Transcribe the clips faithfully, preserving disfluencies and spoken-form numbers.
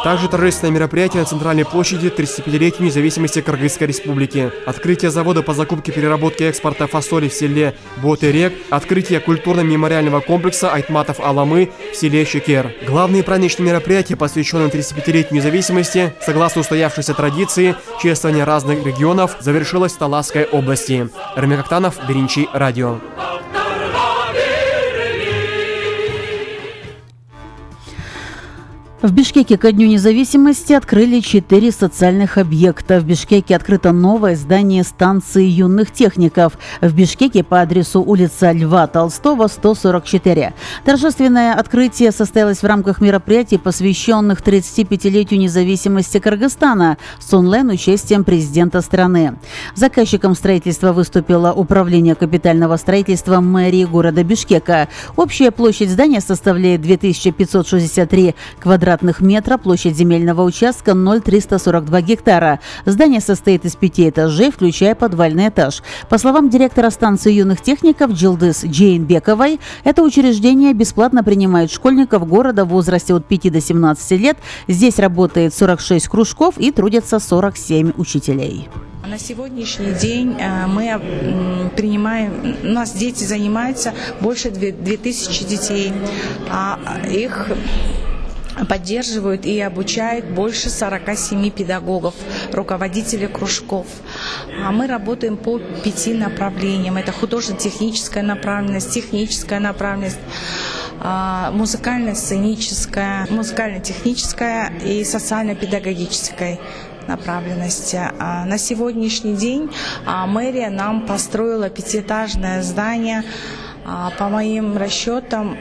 Также торжественное мероприятие на центральной площади тридцатипятилетию независимости Кыргызской Республики. Открытие завода по закупке, переработке и экспорта фасоли в селе Ботерек, открытие культурно-мемориального комплекса Айтматов-Аламы в селе Шекер. Главные праздничные мероприятия, посвященные тридцатипятилетию независимости, согласно устоявшейся традиции, чествование разных регионов, завершилось в Таласской области. Рамиль Актанов, Биринчи радио. В Бишкеке ко Дню независимости открыли четыре социальных объекта. В Бишкеке открыто новое здание станции юных техников. В Бишкеке по адресу улица Льва Толстого, сто сорок четыре. Торжественное открытие состоялось в рамках мероприятий, посвященных тридцатипятилетию независимости Кыргызстана с онлайн-участием президента страны. Заказчиком строительства выступило Управление капитального строительства мэрии города Бишкека. Общая площадь здания составляет две тысячи пятьсот шестьдесят три квадратных метра, площадь земельного участка ноль целых триста сорок два гектара. Здание состоит из пяти этажей, включая подвальный этаж. По словам директора станции юных техников Джилдыз Джейнбековой, это учреждение бесплатно принимает школьников города в возрасте от пяти до семнадцати лет. Здесь работает сорок шесть кружков и трудятся сорок семь учителей. На сегодняшний день мы принимаем, у нас дети занимаются больше двух тысяч детей, а их поддерживают и обучают больше сорока семи педагогов, руководителей кружков. А мы работаем по пяти направлениям. Это художественно-техническая направленность, техническая направленность, музыкально-сценическая, музыкально-техническая и социально-педагогическая направленности. На сегодняшний день мэрия нам построила пятиэтажное здание. По моим расчетам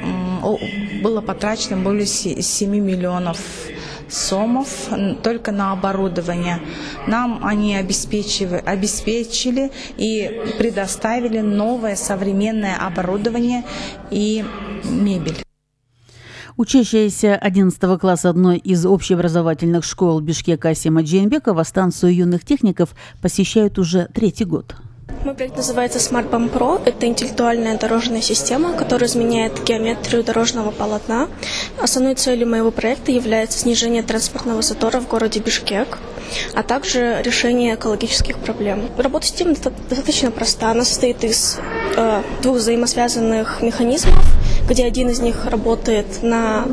было потрачено более семи миллионов сомов только на оборудование. Нам они обеспечили, обеспечили и предоставили новое современное оборудование и мебель. Учащаяся одиннадцатого класса одной из общеобразовательных школ Бишкека Асима Джейнбекова станцию юных техников посещают уже третий год. Мой проект называется SmartBump Pro. Это интеллектуальная дорожная система, которая изменяет геометрию дорожного полотна. Основной целью моего проекта является снижение транспортного затора в городе Бишкек, а также решение экологических проблем. Работа системы достаточно проста. Она состоит из э, двух взаимосвязанных механизмов, где один из них работает на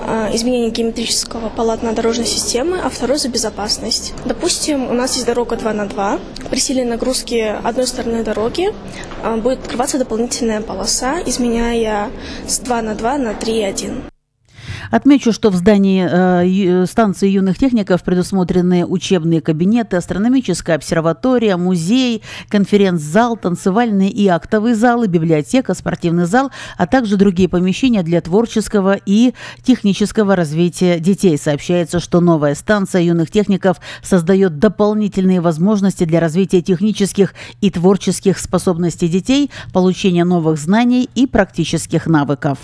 э, изменение геометрического полотна дорожной системы, а второй за безопасность. Допустим, у нас есть дорога два на два. При силе нагрузки одной стороны дороги э, будет открываться дополнительная полоса, изменяя с два на два на три и один. Отмечу, что в здании э, станции юных техников предусмотрены учебные кабинеты, астрономическая обсерватория, музей, конференц-зал, танцевальные и актовые залы, библиотека, спортивный зал, а также другие помещения для творческого и технического развития детей. Сообщается, что новая станция юных техников создает дополнительные возможности для развития технических и творческих способностей детей, получения новых знаний и практических навыков.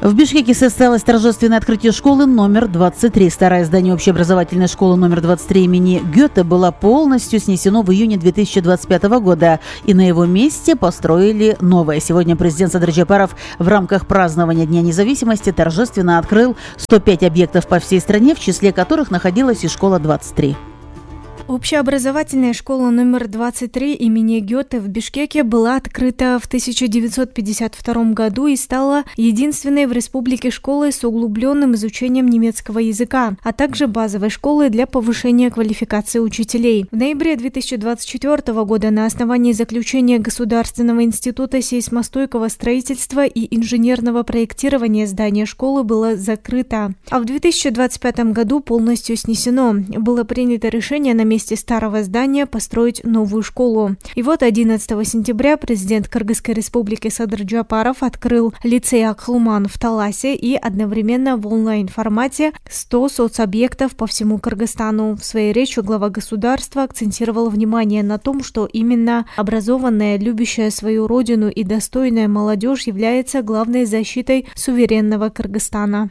В Бишкеке состоялось торжественное открытие школы номер двадцать три. Старое здание общеобразовательной школы номер двадцать три имени Гёте было полностью снесено в июне две тысячи двадцать пятого года, и на его месте построили новое. Сегодня президент Садыр Джапаров в рамках празднования Дня независимости торжественно открыл сто пять объектов по всей стране, в числе которых находилась и школа двадцать три. Общеобразовательная школа номер двадцать три имени Гёте в Бишкеке была открыта в тысяча девятьсот пятьдесят втором году и стала единственной в республике школой с углубленным изучением немецкого языка, а также базовой школой для повышения квалификации учителей. В ноябре две тысячи двадцать четвёртого года на основании заключения Государственного института сейсмостойкого строительства и инженерного проектирования здание школы было закрыто, а в две тысячи двадцать пятом году полностью снесено. Было принято решение на месте старого здания построить новую школу. И вот одиннадцатого сентября президент Кыргызской республики Садыр Джапаров открыл лицей Акхлуман в Таласе и одновременно в онлайн-формате сто соцобъектов по всему Кыргызстану. В своей речи глава государства акцентировал внимание на том, что именно образованная, любящая свою родину и достойная молодежь является главной защитой суверенного Кыргызстана.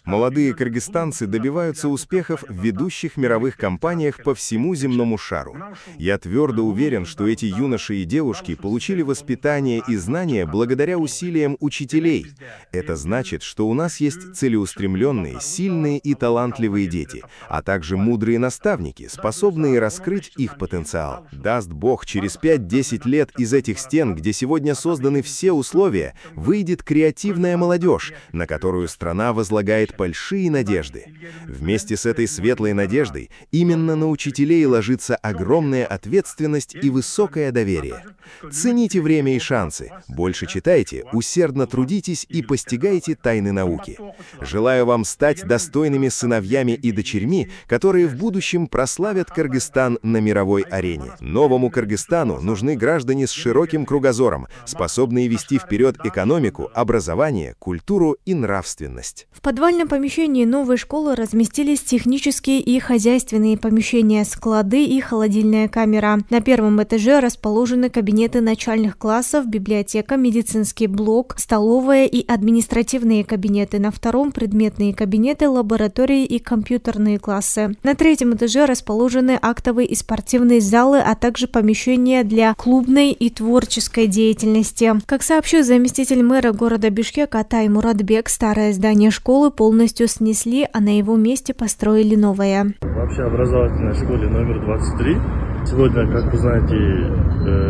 Молодые кыргызстанцы добиваются успехов в ведущих мировых страховых компаниях по всему земному шару. Я твердо уверен, что эти юноши и девушки получили воспитание и знания благодаря усилиям учителей. Это значит, что у нас есть целеустремленные, сильные и талантливые дети, а также мудрые наставники, способные раскрыть их потенциал. Даст Бог, через пять-десять лет из этих стен, где сегодня созданы все условия, выйдет креативная молодежь, на которую страна возлагает большие надежды. Вместе с этой светлой надеждой именно на учителей ложится огромная ответственность и высокое доверие. Цените время и шансы, больше читайте, усердно трудитесь и постигайте тайны науки. Желаю вам стать достойными сыновьями и дочерьми, которые в будущем прославят Кыргызстан на мировой арене. Новому Кыргызстану нужны граждане с широким кругозором, способные вести вперед экономику, образование, культуру и нравственность. В подвальном помещении новой школы разместились технические и хозяйственные помещения, склады и холодильная камера. На первом этаже расположены кабинеты начальных классов, библиотека, медицинский блок, столовая и административные кабинеты. На втором – предметные кабинеты, лаборатории и компьютерные классы. На третьем этаже расположены актовые и спортивные залы, а также помещения для клубной и творческой деятельности. Как сообщил заместитель мэра города Бишкек Атай Муратбек, старое здание школы полностью снесли, а на его месте построили новое. Вообще образовательной школе номер двадцать три. Сегодня, как вы знаете,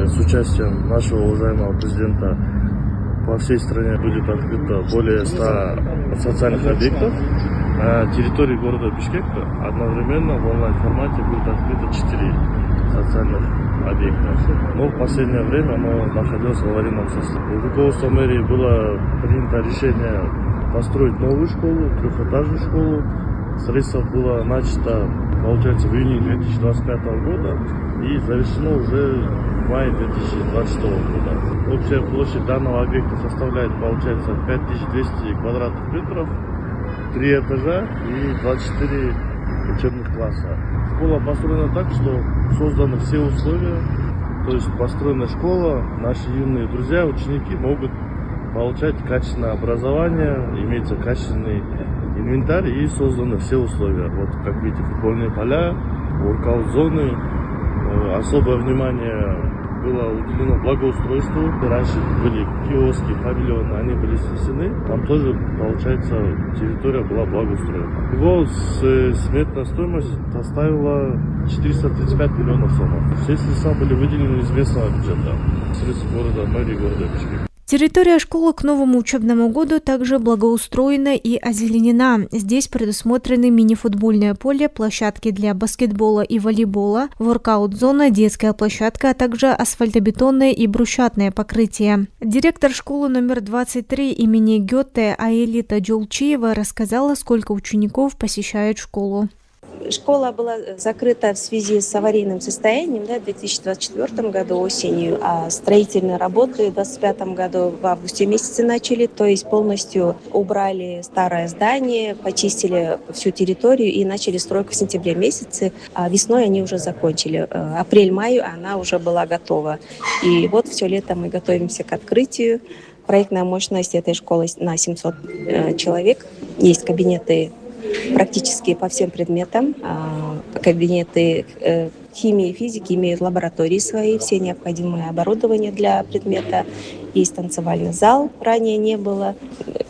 с участием нашего уважаемого президента по всей стране будет открыто более ста социальных объектов. На территории города Бишкек одновременно в онлайн-формате будет открыто четыре социальных объекта. Но в последнее время оно находилось в аварийном состоянии. Руководством мэрии было принято решение построить новую школу, трехэтажную школу. Строительство было начато, получается, в июне две тысячи двадцать пятого года и завершено уже в мае две тысячи двадцать шестого года. Общая площадь данного объекта составляет, получается, пять тысяч двести квадратных метров, три этажа и двадцать четыре учебных класса. Школа построена так, что созданы все условия, то есть построена школа, наши юные друзья, ученики могут получать качественное образование, имеется качественный инвентарь и созданы все условия. Вот, как видите, футбольные поля, воркаут-зоны, особое внимание было уделено благоустройству. Раньше были киоски, павильоны, они были снесены. Там тоже, получается, территория была благоустроена. Его сметная стоимость составила четыреста тридцать пять миллионов сомов. Все средства были выделены из местного бюджета, средств города, мэрии города Бишкек. Территория школы к новому учебному году также благоустроена и озеленена. Здесь предусмотрены мини-футбольное поле, площадки для баскетбола и волейбола, воркаут-зона, детская площадка, а также асфальтобетонное и брусчатное покрытие. Директор школы номер двадцать три имени Гёте Аэлита Джолчиева рассказала, сколько учеников посещает школу. Школа была закрыта в связи с аварийным состоянием, да, в две тысячи двадцать четвёртом году осенью, а строительные работы в две тысячи двадцать пятом году в августе месяце начали, то есть полностью убрали старое здание, почистили всю территорию и начали стройку в сентябре месяце, а весной они уже закончили. Апрель-май она уже была готова. И вот все лето мы готовимся к открытию. Проектная мощность этой школы на семьсот человек. Есть кабинеты практически по всем предметам. Кабинеты химии и физики имеют лаборатории свои, все необходимое оборудование для предмета. Есть танцевальный зал, ранее не было.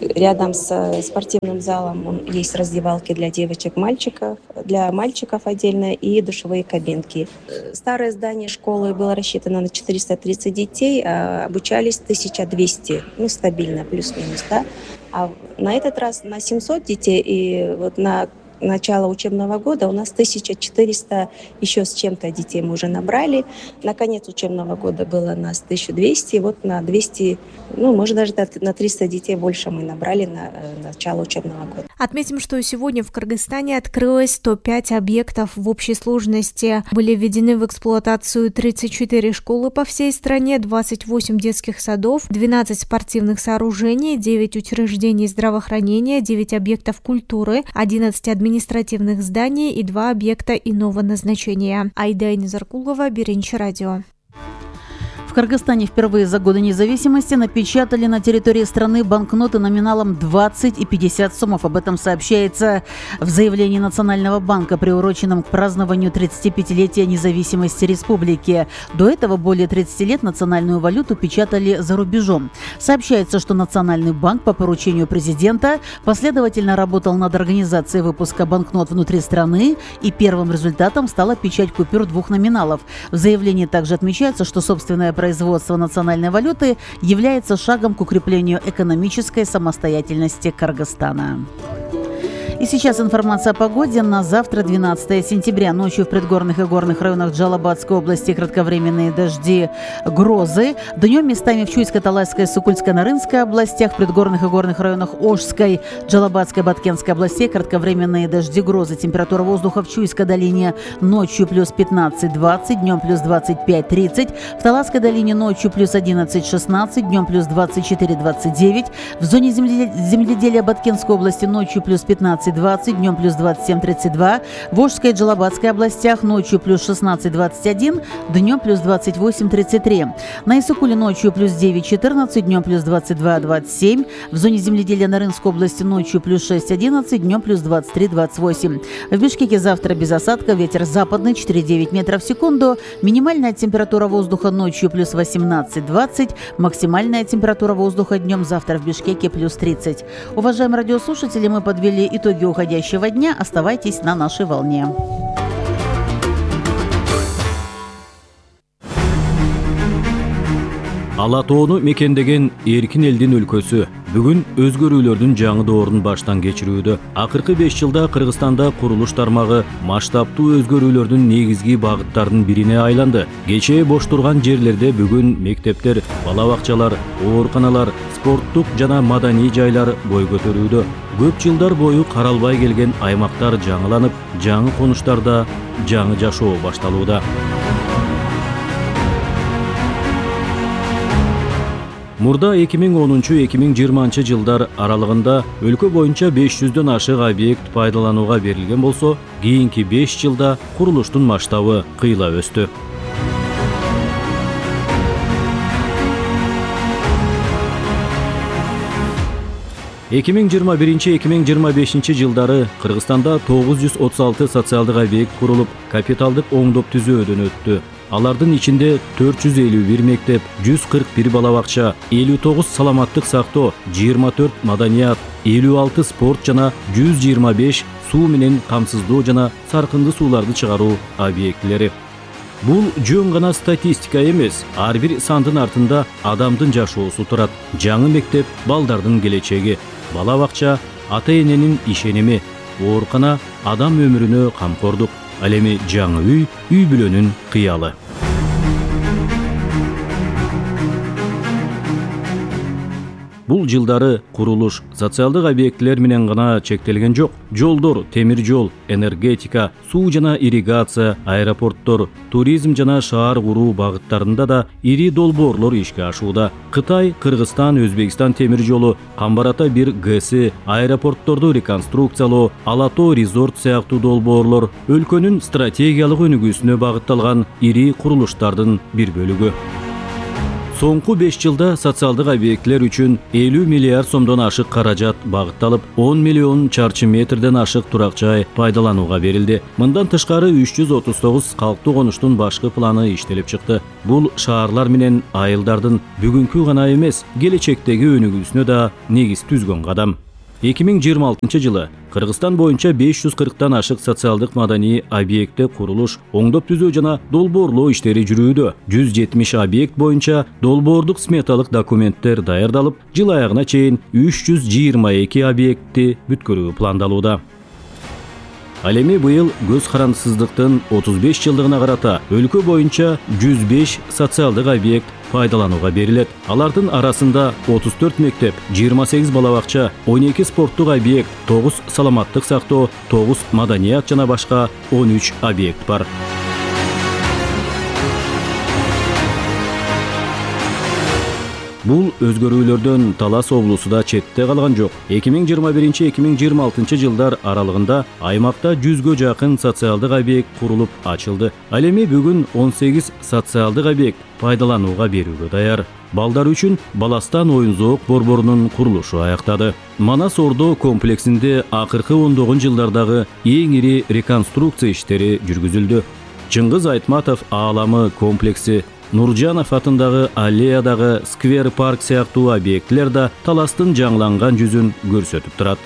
Рядом с спортивным залом есть раздевалки для девочек, мальчиков, для мальчиков отдельно и душевые кабинки. Старое здание школы было рассчитано на четыреста тридцать детей, а обучались тысяча двести, ну стабильно, плюс-минус, да. А на этот раз на семьсот детей, и вот на начало учебного года у нас тысяча четыреста еще с чем-то детей мы уже набрали. На конец учебного года было нас тысяча двести, вот на двести, ну, может, даже на триста детей больше мы набрали на начало учебного года. Отметим, что сегодня в Кыргызстане открылось сто пять объектов в общей сложности. Были введены в эксплуатацию тридцать четыре школы по всей стране, двадцать восемь детских садов, двенадцать спортивных сооружений, девять учреждений здравоохранения, девять объектов культуры, одиннадцать административных зданий и два объекта иного назначения. Айда Низаркулова, Беренчи радио. В Кыргызстане впервые за годы независимости напечатали на территории страны банкноты номиналом двадцать и пятьдесят сомов. Об этом сообщается в заявлении Национального банка, приуроченном к празднованию тридцатипятилетия независимости республики. До этого более тридцати лет национальную валюту печатали за рубежом. Сообщается, что Национальный банк по поручению президента последовательно работал над организацией выпуска банкнот внутри страны, и первым результатом стала печать купюр двух номиналов. В заявлении также отмечается, что собственное производство национальной валюты является шагом к укреплению экономической самостоятельности Кыргызстана. И сейчас информация о погоде на завтра, двенадцатое сентября. Ночью в предгорных и горных районах Джалабадской области кратковременные дожди, грозы. Днем местами в Чуйской, Талайской, Сукульской, Нарынской областях, в предгорных и горных районах Ошской, Джалабадской, Баткенской областей кратковременные дожди, грозы. Температура воздуха в Чуйской долине ночью плюс пятнадцать-двадцать, днем плюс двадцать пять-тридцать. В Таласской долине ночью плюс одиннадцать-шестнадцать, днем плюс двадцать четыре-двадцать девять. В зоне земледелия Баткенской области ночью плюс пятнадцать двадцать, днем плюс двадцать семь тридцать два, в Ошской и Джалабадской областях ночью плюс шестнадцать двадцать один, днем плюс двадцать восемь тридцать три. На Исыкуле ночью плюс девять четырнадцать, днем плюс двадцать два двадцать семь, в зоне земледелия Нарынской области ночью плюс шесть одиннадцать, днем плюс двадцать три двадцать восемь. В Бишкеке завтра без осадков, ветер западный четыре-девять метров в секунду, минимальная температура воздуха ночью плюс восемнадцать двадцать, максимальная температура воздуха днем завтра в Бишкеке плюс тридцать. Уважаемые радиослушатели, мы подвели итоги уходящего дня. Оставайтесь на нашей волне. Ала тоону мекендеген эркин элдин өлкөсү бүгүн өзгөрүүлөрдүн жаңы доорун баштан кечирүүдө. Акыркы беш жылда Кыргызстанда курулуш тармагы масштабтуу өзгөрүүлөрдүн негизги багыттарынын бирине айланды. Кечээ бош турган жерлерде бүгүн мектептер, бала бакчалар, ооруканалар, спорттук жана маданий жайлар бой көтөрүүдө. Көп жылдар бою каралбай келген аймактар жаңыланып, жаңы конуштарда жаңы жашоо башталууда. Мурда эки миң онунчу эки миң жыйырманчы жылдар аралыгында өлкө боюнча беш жүздөн ашык объект пайдаланууга берилген болсо, кийинки беш жылда курулуштун масштабы кыйла өстү. эки миң жыйырма биринчи эки миң жыйырма бешинчи жылдары Кыргызстанда тогуз жүз отуз алты социалдык объект курулуп, капиталдык оңдоп түзөөдөн өттү. Алардын ичинде төрт жүз элүү бир мектеп, жүз кырк бир бала бакча, элүү тогуз саламаттык сактоо, жыйырма төрт маданият, элүү алты спорт жана жүз жыйырма беш суу менен камсыздоо жана саркынды сууларды чыгаруу объектилери. Бул жөн гана статистика эмес, ар бир сандын артында адамдын жашоосу турат. Жаңы мектеп балдардын келечеги, бала бакча ата-эненин ишеними, оорукана адам өмүрүнө камкордук, ал эми жаңы үй, үй бүлөнүн кыялы. Бул жылдары курулуш социалдык объектилер менен гана чектелген жок. Жолдор, темир жол, энергетика, суу жана ирригация, аэропорттор, туризм жана шаар куруу багыттарында да ири долбоорлор ишке ашууда. Кытай, Кыргызстан, Өзбекстан темир жолу, Камбар-Ата бир ГЭСи, аэропортторду реконструкциялоо, Ала тоо резорт сыяктуу долбоорлор өлкөнүн стратегиялык өнүгүүсүнө багытталган ири курулуштардын бир бөлүгү. Соңку беш жылда социалдык объектилер үчүн элүү миллиард сомдон ашык каражат багытталып, он миллион чарчы метрден ашык турак жай пайдаланууга берилди. Мындан тышкары үч жүз отуз тогуз калктуу конуштун башкы планы иштелип чыкты. Бул шаарлар менен айылдардын бүгүнкү гана эмес, келечектеги өнүгүүсүнө да негиз түзгөн кадам. эки миң жыйырма алтынчы жылы Кыргызстан боюнча беш жүз кырктан ашык социалдык маданий объекти курулуш, оңдоп түзөө жана долбоорлоо иштери жүрүүдө. жүз жетимиш объект боюнча долбоордук сметалык документтер даярдалып, жыл аягына чейин үч жүз жыйырма эки объектти бүткөрүү пландалууда. Ал эми быйыл көз карандысыздыктын отуз беш жылдыгына карата өлкө боюнча жүз беш социалдык объект пайдаланууга берилет. Алардын арасында отуз төрт мектеп, жыйырма сегиз бала бакча, он эки спорттук объект, тогуз саламаттык сактоо, тогуз маданият жана башка он үч объект бар. Бул өзгөрүүлөрдөн Талас облусу да четте калган жок. эки миң жыйырма биринчи эки миң жыйырма алтынчы жылдар аралыгында аймакта жүзгө жакын социалдык объект курулуп ачылды. Ал эми бүгүн он сегиз социалдык объект пайдаланууга берүүгө даяр. Балдар үчүн Баластан оюн-зоок борборунун курулушу аяктады. Манас Ордо комплексинде акыркы ондогун жылдардагы эң ири реконструкция иштери жүргүзүлдү. Чыңгыз Айтматов ааламы комплекси, Нуржанов атындагы аллеядагы сквер парк сыяктуу объектилер да Таластын жаңыланган жүзүн көрсөтүп турат.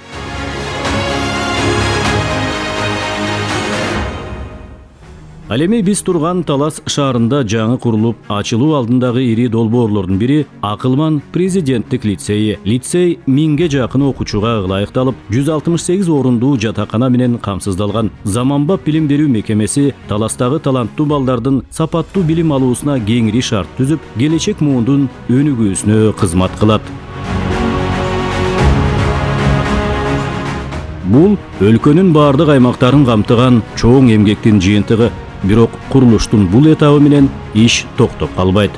Ал эми биз турган Талас шаарында жаңы курулуп ачылуу алдындагы ири долбоорлордун бири Акылман президенттик лицейи. Лицей миңге жакын окуучуга ылайыкталып, жүз алтымыш сегиз орундуу жатакана менен камсыздалган. Заманбап билим берүү мекемеси Таластагы таланттуу балдардын сапаттуу билим алуусуна кеңири шарт түзүп, келечек муундун өнүгүүсүнө кызмат кылат. Бул өлкөнүн баардык аймактарын камтыган чоң эмгектин жыйынтыгы. Бирок курулуштун бул этабы менен иш токтоп калбайт.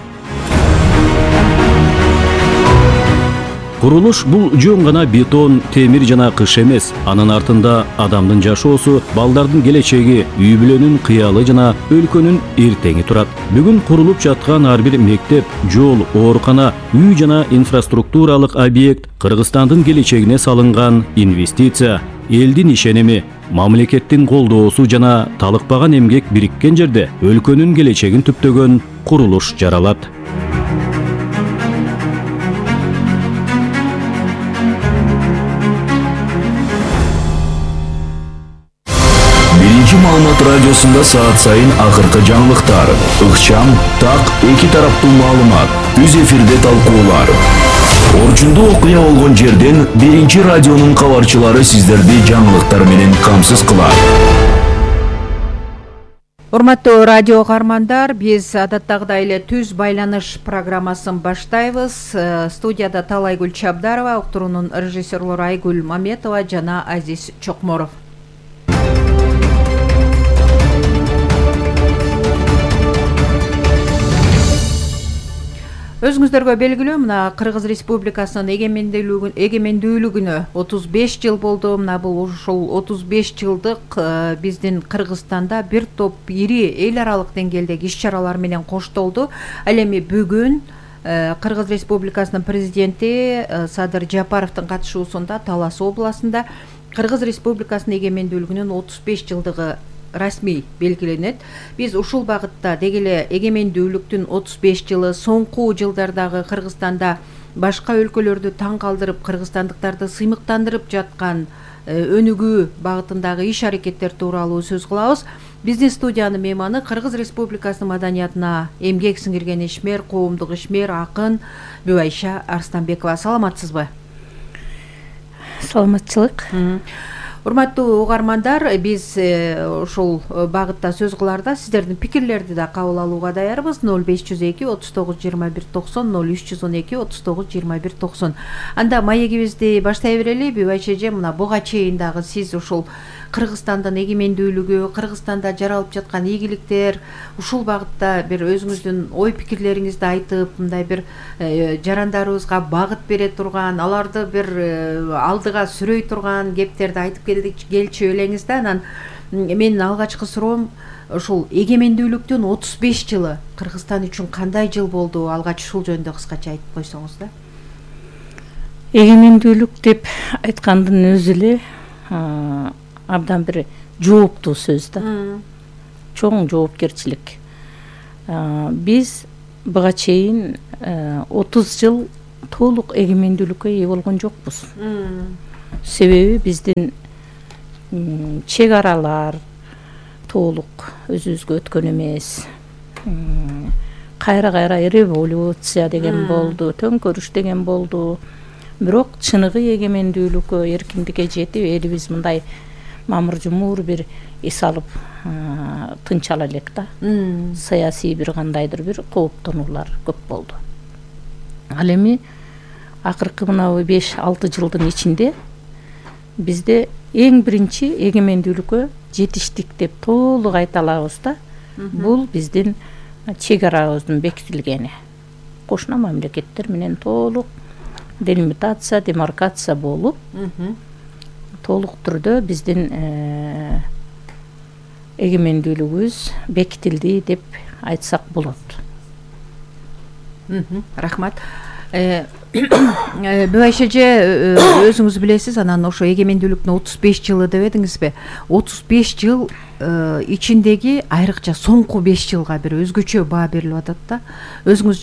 Курулуш бул жөн гана бетон, темир жана кыш эмес. Анын артында адамдын жашоосу, балдардын келечеги, үй бүлөнүн кыялы жана өлкөнүн эртеңи турат. Бүгүн курулуп жаткан ар бир мектеп, жол, оорукана, үй жана инфраструктуралык объект Кыргызстандын келечегине салынган инвестиция, элдин ишеними, мамлекеттин колдоосу жана талыкпаган эмгек бириккен жерде өлкөнүн келечегин түптөгөн курулуш жаралат. Биринчи маалымат радиосунда саат сайын акыркы жаңылыктар, ыкчам, так, эки тараптуу маалымат, үз эфирде талкуулар. Орчундуу окуя болгон жерден биринчи радионун кабарчылары сиздерди жаңылыктар менен камсыз кылат. Урматтуу радио каармандар, биз адаттагыдай эле түз байланыш программасын баштайбыз. Студияда Талайгүл Чабдарова, уктуруунун режиссерлору Айгүл Маметова жана Азиз Чокморов. Өзүңүздөргө белгилүү, мына Кыргыз Республикасынын эгемендүүлүгүн эгемендүүлүгүнө отуз беш жыл болду. Мына бул ушул отуз беш жылдык биздин Кыргызстанда бир топ ири эл аралык деңгээлдеги иш-чаралар менен коштолду. Ал эми бүгүн Кыргыз Республикасынын президенти Садыр Жапаровдун катышуусунда Талас областында Кыргыз Республикасынын эгемендүүлүгүнүн отуз беш жылдыгы расмий белгиленет. Биз ушул багытта деги эле эгемендүүлүктүн отуз беш жылы, соңку жылдардагы Кыргызстанда башка өлкөлөрдү таң калтырып, кыргызстандыктарды сыймыктандырып жаткан өнүгүү багытындагы иш-аракеттер тууралуу сөз кылабыз. Биздин студиянын мейманы Кыргыз Республикасынын маданиятына эмгек сиңирген ишмер, коомдук ишмер, акын Бүбайша Арстанбекова. Саламатсызбы? Саламатчылык. Урматтуу угармандар, биз ушул багытта сөз кыларда сиздердин пикирлерди да кабыл алууга даярбыз. ноль беш жүз эки отуз тогуз жыйырма бир токсон, ноль үч жүз он эки отуз тогуз жыйырма бир токсон. Анда маегибизди баштай берели. Бүбайша эже, мына буга чейин дагы сиз ушул Кыргызстандын эгемендүүлүгү, Кыргызстанда жаралып жаткан ийгиликтер, ушул багытта бир өзүңүздүн ой пикирлериңизди айтып, мындай бир жарандарыбызга багыт бере турган, аларды бир алдыга сүрөй турган кептерди айтып келчү элеңиз да. Анан менин алгачкы суроом ушул эгемендүүлүктүн отуз беш жылы Кыргызстан үчүн кандай жыл болду? Алгач ушул жөнүндө кыскача айтып койсоңуз да. Эгемендүүлүк деп айткандын өзү эле абдан бир жооптуу сөз да. Чоң жоопкерчилик. Биз буга чейин отуз жыл толук эгемендүүлүккө ээ болгон жокпуз. Себеби биздин чек аралар толук өзүбүзгө өткөн эмес. Кайра-кайра революция деген болду, төңкөрүш деген болду. Бирок чыныгы эгемендүүлүккө, эркиндикке жетип, элибиз мындай мамыр-жумур бир эс алып тынч ала элек да. Саясий бир кандайдыр бир кооптонуулар көп болду. Ал эми акыркы мына беш алты жылдын ичинде бизде эң биринчи эгемендүүлүккө жетиштик деп толук айта алабыз да. Бул биздин чек арабыздын бекитилгени. кошуна мамлекеттер менен толук делимитация, демаркация болуп, толук түрдө биздин эгемендүүлүгүбүз бекитилди деп айтсак болот. Рахмат. Бүбайша эже, өзүңүз билесиз, анан ошо эгемендүүлүктүн отуз беш жылы деп эдиңизби? отуз беш жыл ичиндеги айрыкча соңку беш жылга бир өзгөчө баа берилип атат да. Өзүңүз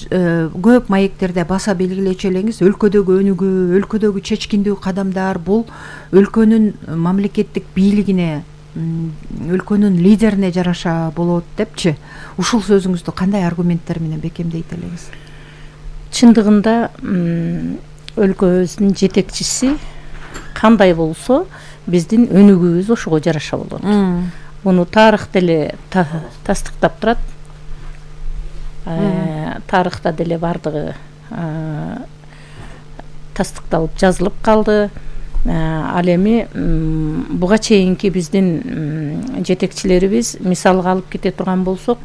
көп маектерде баса белгилечү элеңиз, өлкөдөгү өнүгүү, өлкөдөгү чечкиндүү кадамдар бул өлкөнүн мамлекеттик бийлигине, өлкөнүн лидерине жараша болот депчи. Ушул сөзүңүздү кандай аргументтер менен бекемдейт элеңиз? Чындыгында өлкөбүздүн жетекчиси кандай болсо, биздин өнүгүүбүз ошого жараша болот. Муну тарых деле тастыктап турат. Тарыхта деле бардыгы тастыкталып жазылып калды. Ал эми буга чейинки биздин жетекчилерибиз мисалга алып кете турган болсок,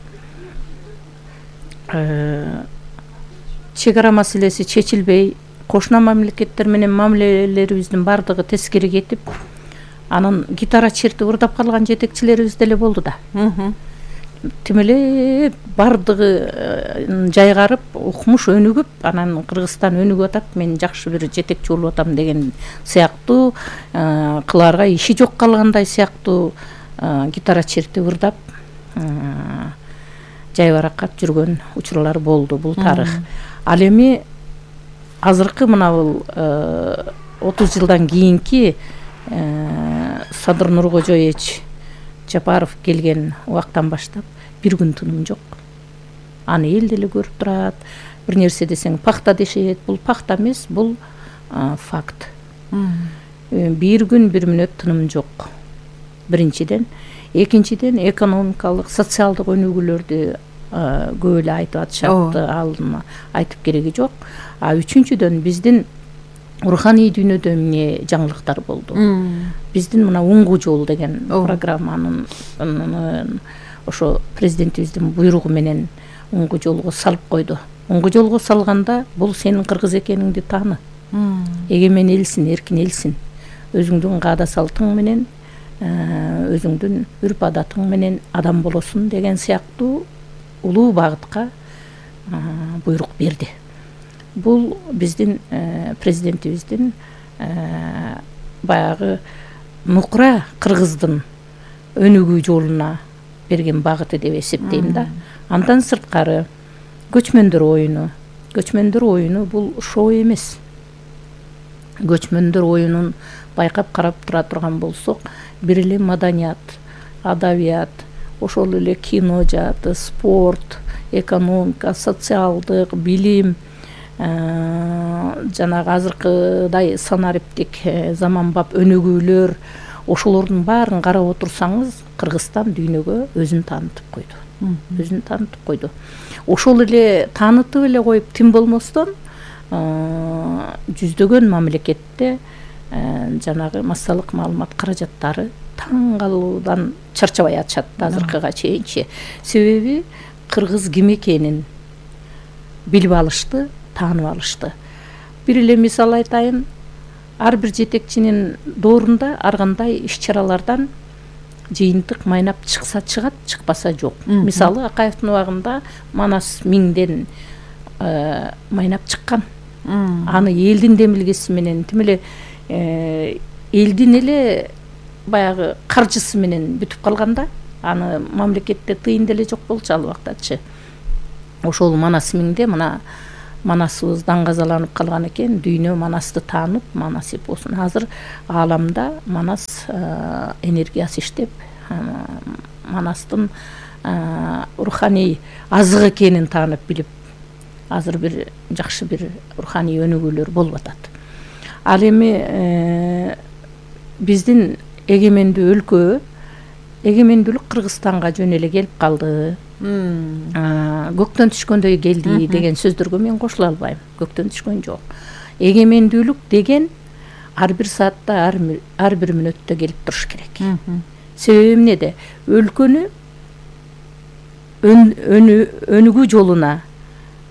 чек ара маселеси чечилбей, кошуна мамлекеттер менен мамилелерибиздин бардыгы тескери кетип, анан гитара чертип ырдап калган жетекчилерибиз деле болду да. Тим эле бардыгы жайгарып, укмуш өнүгүп, анан Кыргызстан өнүгүп атат, мен жакшы бир жетекчи болуп атам деген сыяктуу, кылаарга иши жок калгандай сыяктуу гитара чертип ырдап жайбаракат жүргөн учурлар болду. Бул тарых. Ал эми азыркы мына бул отуз жылдан кийинки Садыр Нуркожоевич Жапаров келген убактан баштап бир күн тыным жок. Аны эл деле көрүп турат. Бир нерсе десең пахта дешет. Бул пахта эмес, бул факт. Бир күн бир мүнөт тыным жок. Биринчиден, экинчиден экономикалык, социалдык өнүгүүлөрдү көп эле айтып атышат, алдын айтып кереги жок. А үчүнчүдөн биздин руханий дүйнөдө эмне жаңылыктар болду. Биздин мына Уңгу жол деген программанын ошо президентибиздин буйругу менен Уңгу жолго салып койду. Уңгу жолго салганда бул сенин кыргыз экениңди тааны. Эгемен элсин, эркин элсин. Өзүңдүн каада салтың менен, өзүңдүн үрп адатың менен адам болосуң деген сыяктуу улуу багытка буйрук берди. Бул биздин президентибиздин баягы нукура кыргыздын өнүгүү жолуна берген багыты деп эсептейм да. Андан сырткары көчмөндөр оюну. Көчмөндөр оюну бул шоу эмес. Көчмөндөр оюнун байкап карап тура турган болсок, бир эле маданият, адабият, ошол эле кино жааты, спорт, экономика, социалдык, билим, жанагы азыркыдай санариптик заманбап өнүгүүлөр, ошолордун баарын карап отурсаңыз, Кыргызстан дүйнөгө өзүн таанытып койду. Өзүн таанытып койду. Ошол эле таанытып эле коюп, тим болмостон жүздөгөн мамлекетте жанагы массалык маалымат каражаттары таң калуудан чарчабай атышат азыркыга чейинчи. Себеби кыргыз ким экенин билип алышты, таанып алышты. Бир эле мисал айтайын, ар бир жетекчинин доорунда ар кандай иш-чаралардан жыйынтык майнап чыкса чыгат, чыкпаса жок. Мисалы Акаевдин убагында Манас миңден майнап чыккан. Аны элдин демилгеси менен, тим эле элдин эле баягы каржысы менен бүтүп калганда, аны мамлекетте тыйын деле жок болчу ал убактачы. Ошол Манас миңде мына Манасыбыз даңгазаланып калган экен, дүйнө Манасты таанып, Манас эпосун азыр ааламда Манас энергиясы иштеп, Манастын руханий азык экенин таанып билип, азыр бир жакшы бир руханий өнүгүүлөр болуп атат. Ал эми биздин эгемендүү өлкө, эгемендүүлүк Кыргызстанга жөн эле келип калды. Көктөн түшкөндөй келди деген сөздөргө мен кошула албайм. Көктөн түшкөн жок. Эгемендүүлүк деген ар бир саатта, ар бир мүнөттө келип туруш керек. Себеби эмнеде? Өлкөнү өнүгүү жолуна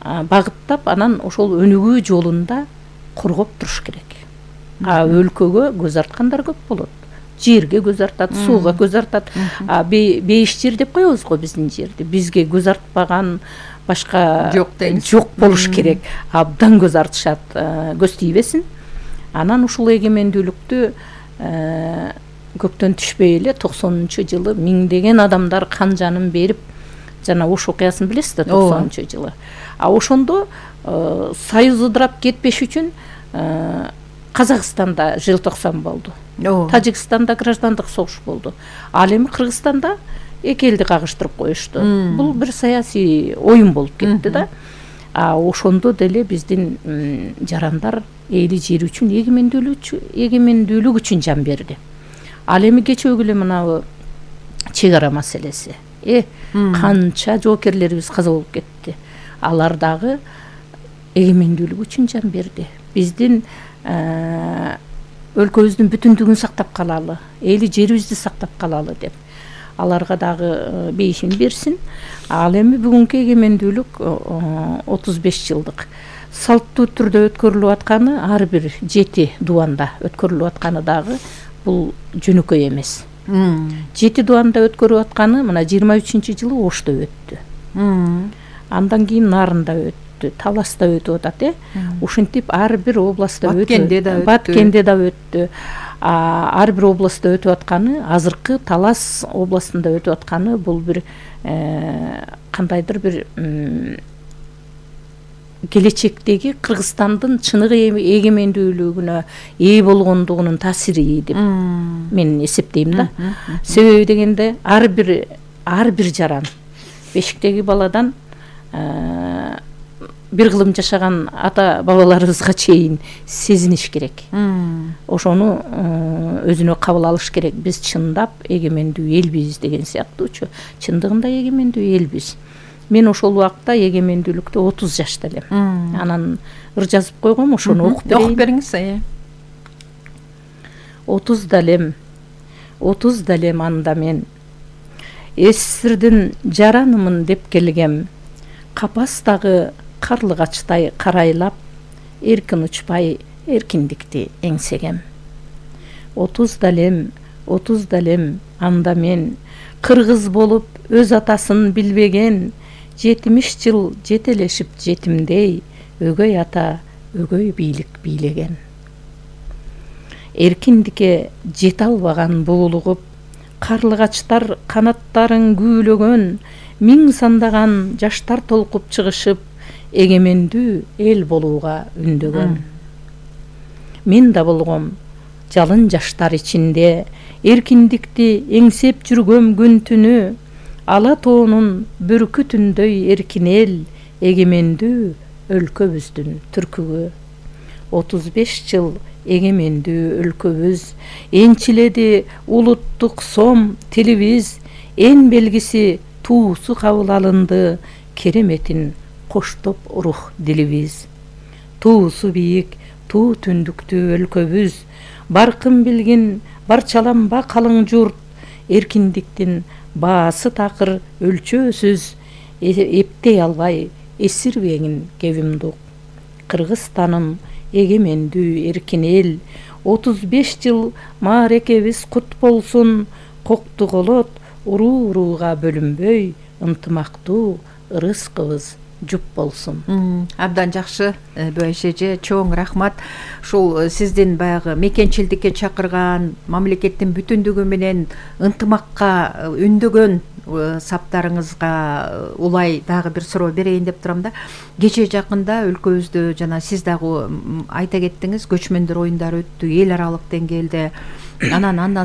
багыттап анан ошол өнүгүү жолунда коргоп туруш керек. А өлкөгө көз арткандар көп болот. Жерге көз артат, сууга көз артат. А бейиш жер деп коебуз го биздин жерди. Бизге көз артпаган башка жок дейбиз. Жок болуш керек. Абдан көз артышат, көз тийбесин. Анан ушул эгемендүүлүктү көктөн түшпөй эле токсонунчу жылы миңдеген адамдар кан жанын берип, жана Ош окуясын билесиз да, токсонунчу жылы. А ошондо союз ыдырап кетпеш үчүн Казакстанда желтоқсан болду. Тажикстанда граждандык согуш болду. Ал эми Кыргызстанда эки элди кагыштырып коюшту. Бул бир саясий оюн болуп кетти да. А ошондо деле биздин жарандар эли жери үчүн, эгемендүүлүк үчүн жан берди. Ал эми кечөөгү эле мынабу чек ара маселеси. Э, канча жоокерлерибиз каза болуп кетти. Алар дагы эгемендүүлүк үчүн жан берди. Биздин өлкөбүздүн бүтүндүгүн сактап калалы, эли жерибизди сактап калалы деп аларга дагы бейишин берсин. Ал эми бүгүнкү эгемендүүлүк отуз беш жылдык салттуу түрдө өткөрүлүп атканы, ар бир жети дубанда өткөрүлүп атканы дагы бул жөнөкөй эмес. Жети дубанда өткөрүп атканы мына жыйырма үчүнчү жылы Ошто өттү. Андан кийин Нарында өттү, Таласта өтүп атат, э. Ушинтип ар бир областта өтүп, Баткенде да өттү. Ар бир областта өтүп атканы, азыркы Талас областында өтүп атканы бул бир кандайдыр бир келечектеги Кыргызстандын чыныгы эгемендүүлүгүнө ээ болгондугунун таасири деп мен эсептейм да. Себеби дегенде ар бир ар бир жаран бешиктеги баладан бир кылым жашаган ата бабаларыбызга чейин сезиниш керек. Ошону өзүнө кабыл алыш керек. Биз чындап эгемендүү элбиз деген сыяктуучу. Чындыгында эгемендүү элбиз. Мен ошол убакта эгемендүүлүктө отуз жашта элем. Анан ыр жазып койгом, ошону окуп берейин. Окуп бериңиз, э. отуз далем, отуз далем анда мен эсирдин жаранымын деп келгем. Капастагы карлыгачтай карайлап, эркин учпай эркиндикти эңсегем. отуз далем, отуз далем анда мен кыргыз болуп өз атасын билбеген, жетимиш жыл жетелешип жетимдей, өгөй ата өгөй бийлик бийлеген. Эркиндикке жете албаган буулугуп, карлыгачтар канаттарын күүлөгөн, миң сандаган жаштар толкуп чыгышып, эгемендүү эл болууга үндөгөн. Мен да болгом жалын жаштар ичинде, эркиндикти эңсеп жүргөм күн түнү, ала тоонун бүркүтүндөй эркин эл, эгемендүү өлкөбүздүн түркүгү. отуз беш жыл эгемендүү өлкөбүз, энчиледи улуттук сом тилибиз, эн белгиси туусу кабыл алынды, кереметин коштоп рух дилибиз. Туусу бийик, туу түндүктүү өлкөбүз, баркын билгин барчаланба калың журт, эркиндиктин баасы такыр өлчөөсүз, эптей албай эсирбегин кебимдук. Кыргызстаным эгемендүү эркин эл, отуз беш жыл маарекебиз кут болсун, кокту колот уруу урууга бөлүнбөй, ынтымактуу ырыскыбыз жуп болсун. Абдан жакшы, Бөйш эже, чоң рахмат. Ушул сиздин баягы мекенчилдикке чакырган, мамлекеттин бүтүндүгү менен ынтымакка үндөгөн саптарыңызга улай дагы бир суроо берейин деп турам да. Кечээ жакында өлкөбүздө жана сиз дагы айта кеттиңиз, көчмөндөр оюндары өттү эл аралык деңгээлде. Анан андан